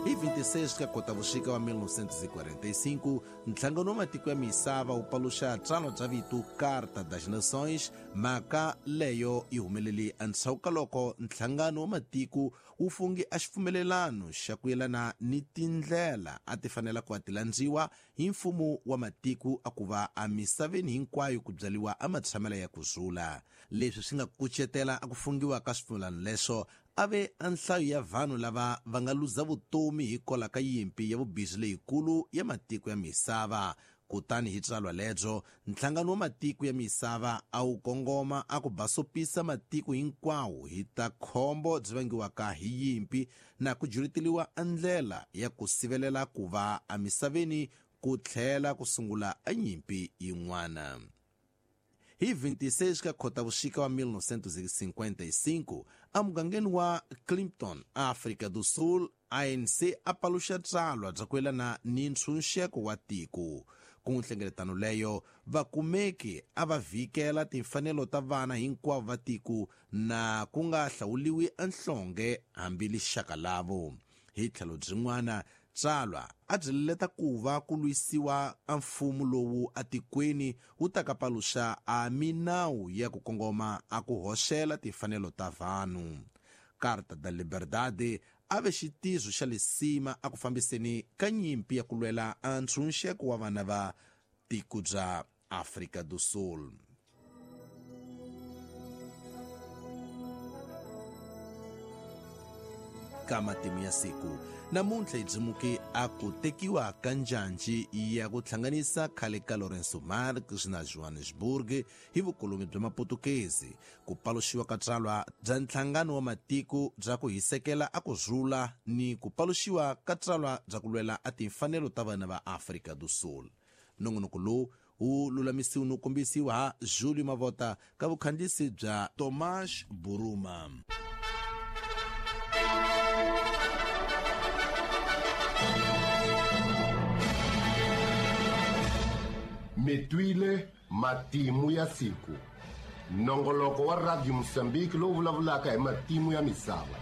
Hi 26 ka Kotavuxika wa 1945, Nhlangano wa Matiko ya Misava wu paluxa tsalwa bya vito Carta das Nações. Mhaka leyo yi humelele endzhaku ka loko Nhlangano wa Matiko wu funge a xipfumelelano xa ku yelana ni tindlela a ti fanela ku va ti landziwa hi mfumo wa matiko a ku va emisaveni hinkwayo ku byariwa amatshamela ya ku rhula. Leswi swi nga kucetela a ku fungiwa ka swipfumelano leswo a ve a nhlayo ya vanhu lava va nga luza vutomi hikwalaho ka yimpi ya vubizi leyikulu ya matiko ya misava. Kutani hi tsalwa lebyo, Nhlangano wa Matiko ya Misava a wu kongoma a ku basopisa matiko hinkwawo hi ta khombo byi vangiwaka hi yimpi na ku juleteliwa a ndlela ya ku sivelela ku va emisaveni ku tlhela ku sungula a nyimpi yin'wana. Hi 26 ka Khotavuxika wa 1955, emugangeni wa Clifton, Afrika do Sul, ANC a paluxa tsalwa bya ku yelana ni ntshunxeko wa tiko. Ku nhlengeletano leyo, vakumeki a va vhikela timfanelo ta vana hinkwavo va tiko na ku nga hlawuliwi enhlonge hambi lixaka lavo. Hi tlhelo byin'wana, tsalwa a byi leleta ku va ku lwisiwa a mfumo lowu atikweni wu ta ka paluxa a minawu ya ku kongoma a ku hoxela timfanelo ta vanhu. Carta da Liberdade a ve xitizo xa lisima a ku fambiseni ka nyimpi ya ku lwela a ntshunxeko wa vana va tiko bya Afrika do Sul. Ka matimu ya siku namuntlha hi byimuke a ku tekiwa ka njhanji ya ku hlanganisa khale ka Lourenço Marques na Johannesburg hi vukoloni bya Maputukezi, ku paluxiwa ka tsalwa bya Nhlangano wa Matiko bya ku hisekela a ku rhula ni ku paluxiwa ka tsalwa bya ku lwela a timfanelo ta vana va Afrika do Sul. Nongonoko lowu wu lulamisiwa no kombisiwa ha Julio Mavota ka vukhandzisi bya Tomas Buruma. Mi twile matimu ya siku, nongoloko wa Radio Mozambique lowu vulavulaka hi matimu ya misava.